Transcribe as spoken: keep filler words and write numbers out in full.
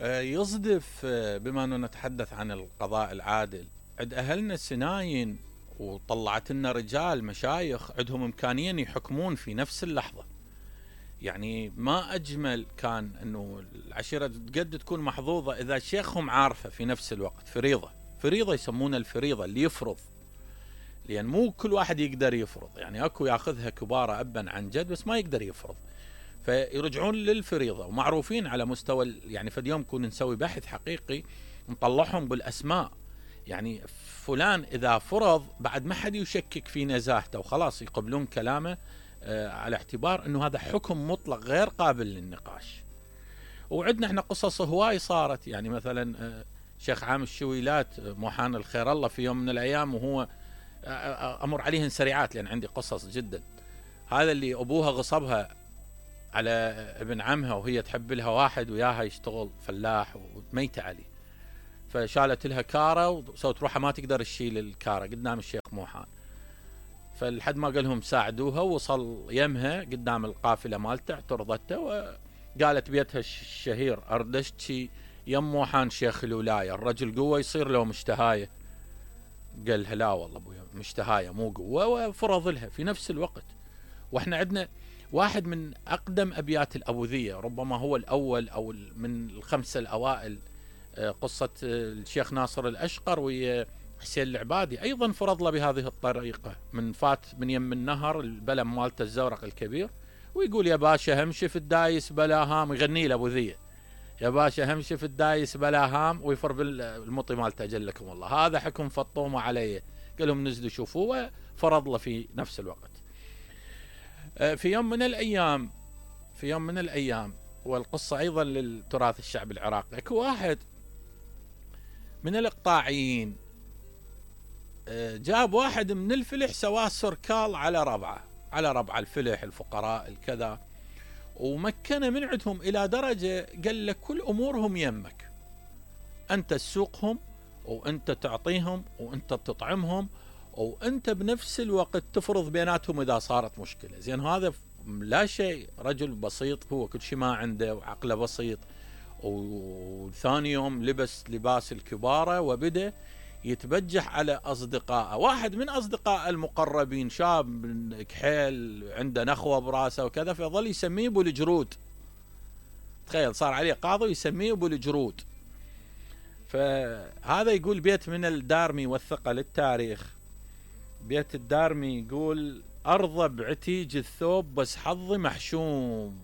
يصدف بما أنه نتحدث عن القضاء العادل، عند أهلنا سناين وطلعت لنا رجال مشايخ عندهم إمكانية يحكمون في نفس اللحظة. يعني ما أجمل كان أنه العشيرة قد تكون محظوظة إذا شيخهم عارفة في نفس الوقت. فريضة فريضة يسمونها الفريضة، اللي يفرض، لأن مو كل واحد يقدر يفرض. يعني أكو ياخذها كبارة أبا عن جد بس ما يقدر يفرض، فيرجعون للفريضة. ومعروفين على مستوى، يعني في اليوم كنا نسوي بحث حقيقي نطلعهم بالأسماء. يعني فلان إذا فرض بعد ما حد يشكك في نزاهته وخلاص يقبلون كلامه آه على اعتبار أنه هذا حكم مطلق غير قابل للنقاش. وعندنا احنا قصص هواي صارت. يعني مثلا آه شيخ عام الشويلات آه محان الخير الله في يوم من الأيام، وهو آه أمر عليهن سريعات لأن عندي قصص جدا. هذا اللي أبوها غصبها على ابن عمها وهي تحب لها واحد وياها يشتغل فلاح وميتة عليه، فشالت لها كارة وسوت روحها ما تقدر تشيل الكارة قدام الشيخ موحان. فلحد ما قالهم ساعدوها، وصل يمها قدام القافلة مالته اعترضته وقالت بيتها الشهير أردشتي يم موحان شيخ الولاية، الرجل قوة يصير له مشتهاية. قال لها لا والله ابويا مشتهاية مو قوة، وفرض لها في نفس الوقت. واحنا عندنا واحد من أقدم أبيات الأبوذية، ربما هو الأول أو من الخمسة الأوائل، قصة الشيخ ناصر الأشقر وحسين العبادي، أيضا فرض له بهذه الطريقة. من فات من يم النهر البلم مالته الزورق الكبير ويقول يا باشا همشي في الدايس بلا هام، يغني له أبوذية يا باشا همشي في الدايس بلا هام، ويفر بالمطي مالته جلكم الله، هذا حكم فطومة عليه. قالهم نزلوا شوفوه، فرض له في نفس الوقت. في يوم من الأيام في يوم من الأيام والقصة أيضا للتراث الشعب العراقي، اكو واحد من الإقطاعيين جاب واحد من الفلح سواه سركال على ربعه على ربع الفلح الفقراء الكذا، ومكنه من عندهم إلى درجة قال لك كل أمورهم يمك، أنت تسوقهم وأنت تعطيهم وأنت تطعمهم وأنت بنفس الوقت تفرض بيناتهم إذا صارت مشكلة. زين هذا لا شيء، رجل بسيط هو كل شيء ما عنده وعقله بسيط. وثاني يوم لبس لباس الكبارة وبدأ يتبجح على أصدقائه. واحد من أصدقائه المقربين شاب كحيل عنده نخوة براسه وكذا، فظل يسميه أبو الجرود. تخيل صار عليه قاضي يسميه أبو الجرود. فهذا يقول بيت من الدارمي والثقة للتاريخ، بيت الدارمي يقول أرضى بعتيج الثوب بس حظي محشوم.